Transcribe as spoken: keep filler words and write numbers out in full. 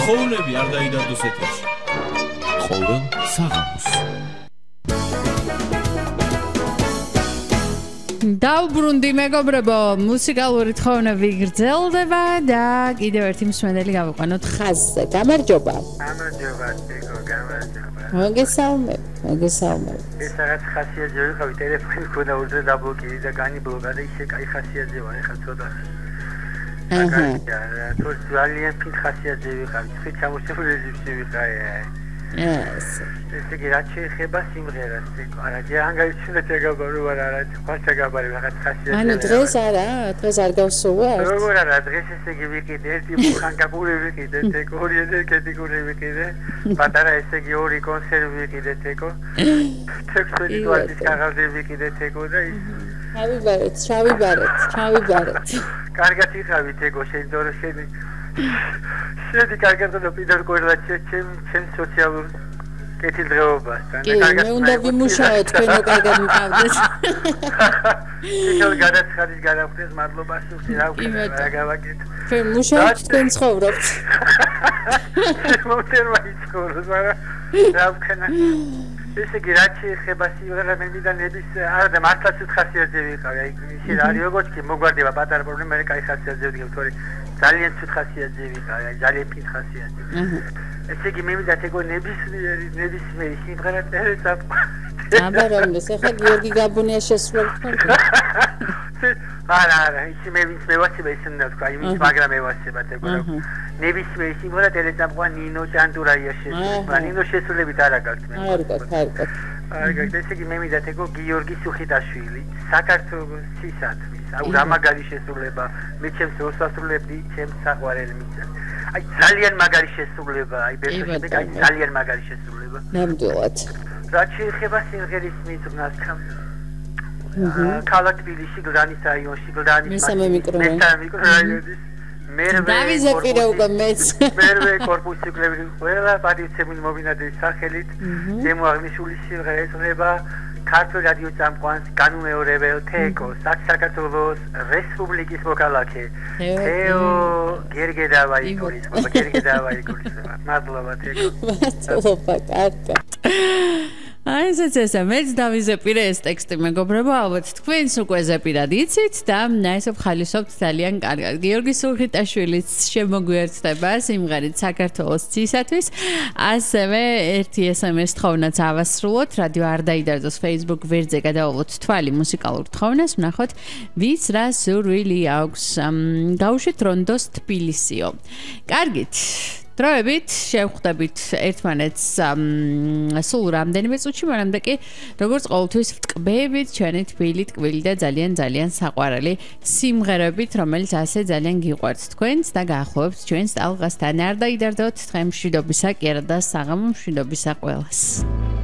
ხოვნები არ დაიდარდოს ეთერში. ხოვენ საღამოს. დავბრუნდი მეგობრებო, მუსიკალური თხოვნები გრძელდება და კიდევ ერთი მსმენელი გავიყვანოთ ხაზზე. გამარჯობა. გამარჯობა, თიკო, გამარჯობა. მოგესალმებ, მოგესალმებ. ეს რაღაც ხასიათზე ვიყავი, ტელეფონი მქონდა უძე დაბლოკირი და განიბლოკა და ისე კაი ხასიათზე ვარ, ეხლა ცოტა. აჰა. თუ ძალიან ფინ ხასიათზე ვიყავი, ხით ჩამოსული რეჟიმში ვიყავი. ეს ესე იგი რაც შეეხება სიმღერას, არა, ჯერ გაიჩინეთ ეგაბარო ვარ, არა, ხალხა გაბარი რაღაც ხასიათზე. ანუ დღეს არა, დღეს არ გავსულა. როგორ არა, დღეს ესე იგი ვიყიდე, ერთი ხანგაკური ვიყიდე, თეკო, ორი ენერგეტიკური ვიყიდე, პატარა ესე იგი ორი კონსერვი ვიყიდე, თეკო. თექსტი ვადის კაღაზი ვიყიდე, თეკო და ის ჩავიბარეთ, ჩავიბარეთ, ჩავიბარეთ. კარგად იხავი, თეკო, შენ დორო შენი შედი კარგად და პირდაპირ ყოლაჩე ჩემ ჩემ სოციალურ კეთილდღეობასთან და კარგად მე უნდა ვიმუშაო თქვენო კარგად მიყავდეთ. ისევ გადაცხადის გადავხდეს მადლობა სულ რა ვქნა რა გავაკეთე. ჩვენ მუშაობთ თქვენ ცხოვრობთ. მოწერვა იცხოვროს მაგრამ რა ვქნა. ესე იგი რაც შეეხება სიმღერა მე მინდა ნების არა და მართლაც ხასიათზე ვიყავი. აი ისე არის როგორც კი მოგვარდება პატარა პრობლემა მე კაი ხასიათზე ვდგებ თორე ძალიან ცუდ ხასიათზე ვიყავი, ძალიან ფინ ხასიათზე. ესე იგი მე მინდა თქო ნებისმიერი ნებისმიერი სიმღერა წერეცა. აბა რომლის ახლა გიორგი გაბუნია შესრულებთ თქვენ? არა, არა, ისე მე ვინც მევასება ისე უნდა თქვა, იმის მაგრამ მევასება თქო. ნებისმიერი სიმღერა წერეცა ნინო ჭანტურაია შესრულება. ნინო შესრულებით არა გაქვს მე. არ გაქვს, არ გაქვს. არ გაქვს, ესე იგი მე მინდა თქო გიორგი სუხიტაშვილი, საქართველოს სისათმის, აუ რა მაგარი შესრულება, მე ჩემს როსასრულებდი, ჩემს საყვარელ მიწას. აი ძალიან მაგარი შესრულება, აი ბერტოშები, აი ძალიან მაგარი შესრულება. ნამდვილად. რაც შეეხება სიმღერის მიღწევას, ქალაქ თბილისში, გლდანის რაიონში, გლდანის მესამე მიკრორაიონი. მესამე მიკრორაიონი. მერვე დავიზეპირე უკვე მეც. მერვე კორპუსი კლები ყველა პატივცემული მომინადების სახელით ზემო აღნიშნული სიმღერა ეძღვნება ქართულ რადიო წამყვანს განუმეორებელ თეკოს საქართველოს რესპუბლიკის მოქალაქე თეო გერგედავაიკულის გერგედავაიკულის მადლობა თეკო მადლობა კარგად. აი ესეც ესა მეც დავიზეპირე ეს ტექსტი მეგობრებო, ალბათ თქვენს უკვე ზეპირად იცით და ესე ვხალისობთ ძალიან კარგად. გიორგი სუხიტაშვილის შემოგვიერთდება სიმღერით საქართველოს ცისათვის. ასევე ერთი ეს ემ ეს თხოვნაც ავასრულოთ, რადიო არ დაიდარდოს Facebook ვერძე გადავალოთ თვალი მუსიკალურ თხოვნას, ვნახოთ ვის რა სურვილი აქვს. გავუშვით რონდოს თბილისიო. კარგით. დროებით შევხვდებით ერთმანეთს სულ რამდენიმე წუთში, მაგრამ და კი როგორც ყოველთვის ვტკბებით ჩვენი თბილი, ტკბილი და ძალიან ძალიან საყვარელი სიმღერებით, რომელიც ასე ძალიან გიყვართ თქვენს და გაახლოვებთ ჩვენს ტალღასთან. არ დაიდარდოთ, დღე მშვიდობისა, კი არა და საღამო მშვიდობისა ყველას.